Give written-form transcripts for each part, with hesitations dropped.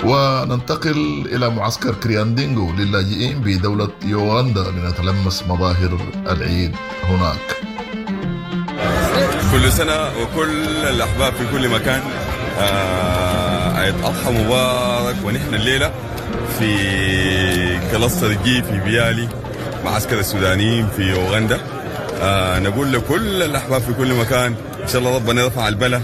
وننتقل إلى معسكر كرياندينغو للاجئين بدولة يوغندا لنتلمس مظاهر العيد هناك. كل سنة وكل الأحباب في كل مكان عيد أضحى مبارك. ونحن الليلة في cluster G في بيالي، معسكر السودانيين في يوغندا. نقول لكل الأحباب في كل مكان إن شاء الله ربنا يرفع البلاء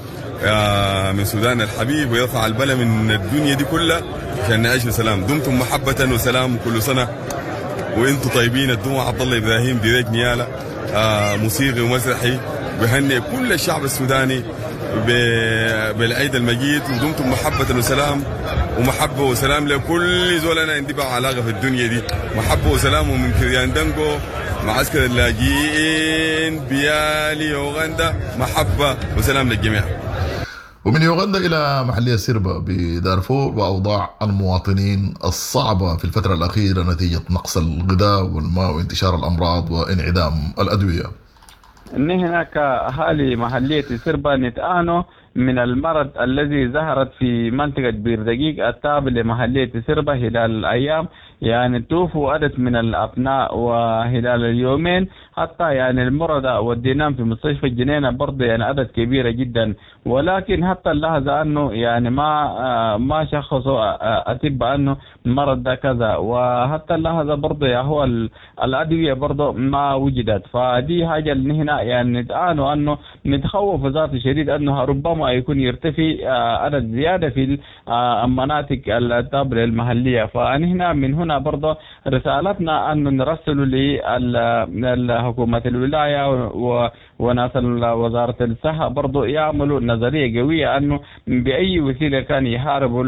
من سودان الحبيب ويرفع البلاء من الدنيا دي كلها عشان نعيش بسلام. دمتم محبة وسلام كل سنة وانتم طيبين. الدموع عبد الله ابراهيم ديريك نيالا، موسيقي ومسرحي، بهنئ كل الشعب السوداني بالعيد المجيد. ودمتم محبة وسلام، ومحبة وسلام لكل زول أنا عندي بقى علاقة في الدنيا دي. محبة وسلام. ومن كرياندنجو معسكر اللاجئين بيالي يوغندا، محبة وسلام للجميع. ومن يوغندا إلى محلية سيربا بدارفور وأوضاع المواطنين الصعبة في الفترة الأخيرة نتيجة نقص الغذاء والماء وانتشار الأمراض وانعدام الأدوية. نحن كأهالي محلية سيربا نتعانوا من المرض الذي ظهرت في منطقة بير دقيق التابع لمحلية سيربا خلال الأيام، يعني توفوا عدد من الأبناء، وخلال اليومين حتى يعني المرضى وديناهم في مستشفى الجنينة برضه يعني عدد كبيرة جدا، ولكن حتى اللحظة أنه يعني ما شخصوا أطباء أنه المرض ده كذا، وحتى اللحظة برضه يا هو الأدوية برضه ما وجدت. فدي حاجة اللي هنا يعني نتعانوا أنه نتخوف ذات شديد أنه ربما يكون يرتفع عدد زيادة في المناطق التابعة المحلية. فنحن من هنا برضه رسالتنا أن نرسل لحكومة الولاية وناس وزارة الصحة برضه يعملوا نظرية قوية أنه بأي وسيلة كان يحاربوا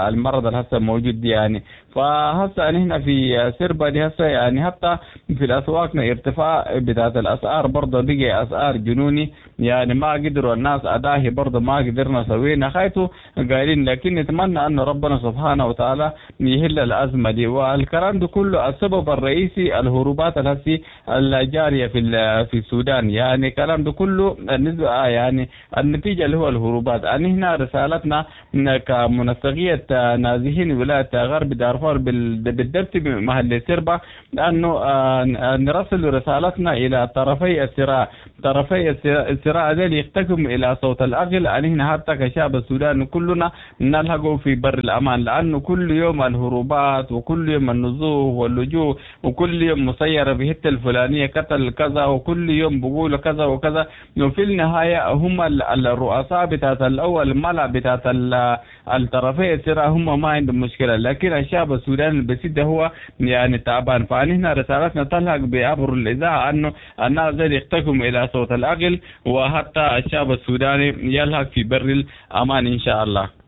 المرض اللي هسه موجود دي يعني. فهسه نحن في سيربا دي هسه يعني حتى في الأسواق ارتفاع بتاعت الأسعار برضه بقي أسعار جنوني، يعني ما قدروا الناس أداهي برضه ما قدرنا سوينا خايتو قايلين، لكن نتمنى أن ربنا سبحانه وتعالى يهل الأزمة دي. والكلام ده كله السبب الرئيسي الهروبات الهسي الجارية في السودان، يعني الكلام ده كله النسبة يعني النتيجة اللي هو الهروبات. يعني هنا رسالتنا كمنسقية نازحين ولاية غرب دارفور بالضبط بمحل سيربا أنه نرسل رسالتنا إلى طرفي الصراع، طرفي الصراع ذي يحتكم إلى صوت العقل. يعني هنا حتى كشعب السودان كلنا نلحقه في بر الأمان، لأنه كل يوم الهروبات وكل يوم النزوح واللجوء وكل يوم مسيرة في حتة الفلانية قتل كذا وكل يوم بقولوا كذا وكذا، وفي النهاية هم الرؤساء بتاعت الأول ملا بتاعت الطرفي الصراع هم ما عندهم مشكلة، لكن الشعب السوداني البسيط هو يعني تعبان. فنحن رسالتنا تلحق بعبر الإذاعة أنه الناس زي يحتكم إلى صوت العقل، وحتى الشعب السوداني يلحق في بر الأمان إن شاء الله.